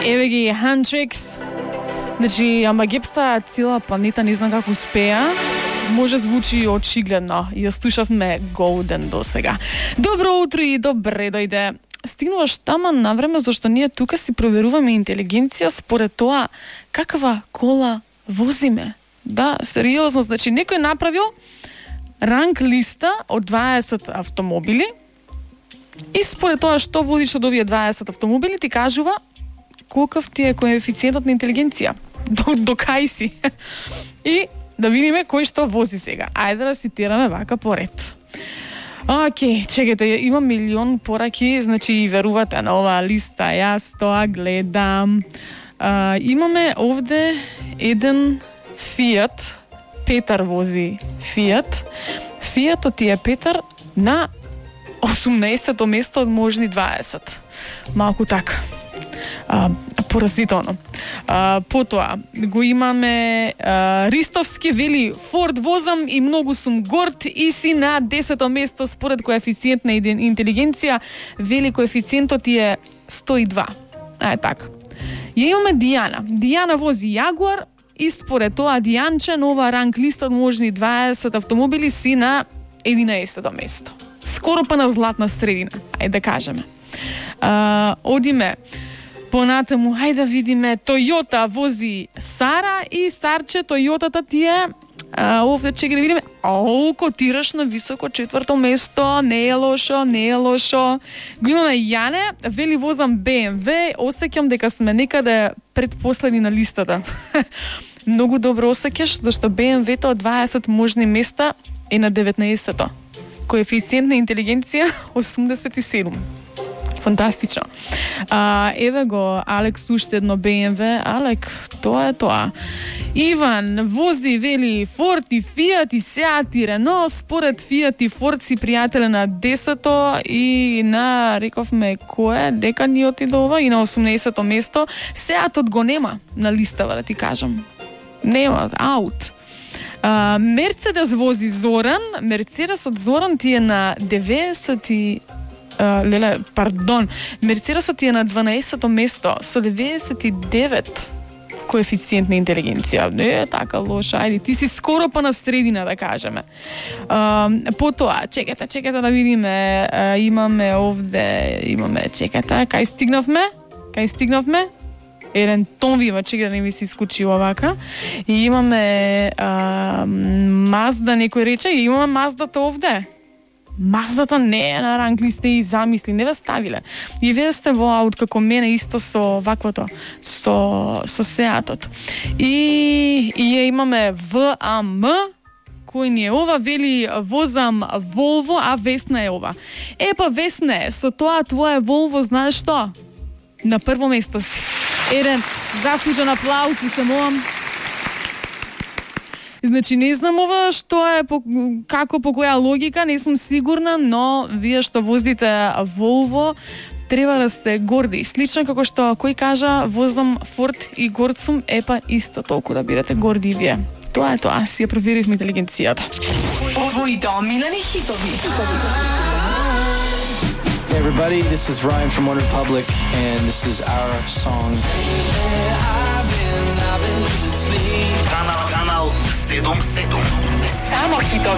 Еве ги Huntrix. Значи, ама гепса цела планета, не знам како успеа. Може звучи очигледно. Ја слушавме Golden до сега. Добро утро и добре дојде. Стигнуваш тама на време, зашто ние тука си проверуваме интелигенција според тоа каква кола возиме. Да, сериозно, значи некој направил ранг листа од 20 автомобили и според тоа што водиш од овие 20 автомобили ти кажува колкав ти е коефициентот на интелигенција. До кај си. И да видиме кој што вози сега. Ајде да цитираме вака поред. Океј, чекайте, имам милион пораки, значи и верувате на оваа листа, јас тоа гледам. Имаме овде еден Фиат, Петар вози Фиат. Фиатот ти е Петар на 18-то место од можни 20. Малку така. Поразително. Потоа го имаме Ристовски, вели Форд возам и многу сум горд и си на 10-то место според коефициент на интелигенција, вели коефициентот е 102. Така. Ја имаме Дијана. Дијана вози Јагуар и според тоа Дијанче нова ранг листа од можни 20 автомобили си на 11-то место. Скоро па на златна средина, ајде да кажеме. Одиме понатаму, ајде да видиме, Тојота вози Сара и Сарче, Тојотата ти е, овде чеки да видиме, котираш на високо 4-то место, не е лошо, не е лошо. Го имаме Јане, вели возам BMW, осеќам дека сме некаде предпоследни на листата. Многу добро осеќаш, зашто BMW-то од 20 можни места е на 19-то. Коефициент на интелигенција 87. Фантастично. Еве го Алекс уште едно BMW. Алек, тоа е тоа. Иван вози, вели Форд и Фиат и Сеат и Рено. Според Фиат и Форд си пријателе на 10-то и на, рековме, кое? Дека ни отиде ова и на 18-то место. Сеатот го нема на листава, да ти кажам. Нема, аут. Мерцедес вози Зоран. Мерцедесот Зоран ти е на 90 Мерцедесот ти е на 12-то место со 99 коефициент на интелигенција. Не е така лошо, ајде, ти си скоро па на средина, да кажеме. Потоа, чекате да видиме, имаме овде, чекате, кај стигнавме? Еден тон вива, чека да не ми се искучи овака. И имаме Мазда, некој рече, и имаме Маздата овде. Маздата не е на ранг листа и замисли, не ве ставиле. И вие сте во аут како мене исто со ваквото, со Сеатот. И ја имаме ВАМ, кој ни е ова, вели возам Волво, а Весна е ова. Епа Весне, со тоа твое Волво, знаеш што? На прво место си. Еден заслужен аплауз и се молам. Значи, не знам ова што е, како, по која логика, не сум сигурна, но вие што возите Волво, треба да сте горди. Слично како што кој кажа, возам Форд и горд сум, епа исто толку да бидете горди и вие. Тоа е тоа, си ја проверивме интелигенцијата. Овој доминани хитови. Hey everybody, this is Ryan from One Republic, and this is our song. Канал 77. Само хитови.